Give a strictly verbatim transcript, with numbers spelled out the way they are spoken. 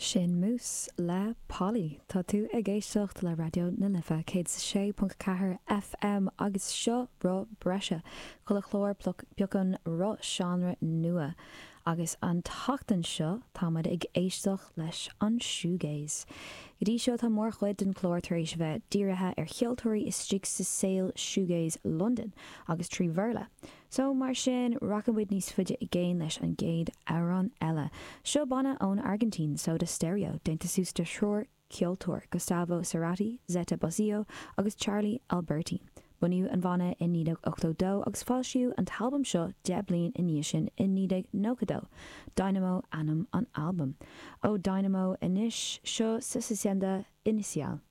Sin Mouss le Polly. Tá tú ag éisteacht le Raidió na Life céad sé ponc ceathair FM agus seo Roth Breise chuile chlár piocann roth seánra nua. Agus an tseachtain seo táimid ag éisteacht leis an shoegaze. Go dtí seo tá mórchuid den chlár tar éis bheith dírithe ar cheoltóirí istigh sa saol shoegaze London agus trí Bhéarla. So mar sin rachaimid níos faide i gcéin leis an gcéad amhrán eile. Seo banna ón Argentina Soda Stereo, déanta suas de thriúr ceoltóir Gustavo Cerati, Zeta Bosio agus Charlie Alberti. Bunaíodh an banna i naoi déag ochtó dó agus foilsíodh an t-albam seo deich bliain i ndiaidh sin i naoi déag nócha dó. Dynamo ainm an albaim. Ó Dynamo anois seo Suficiente Inicial.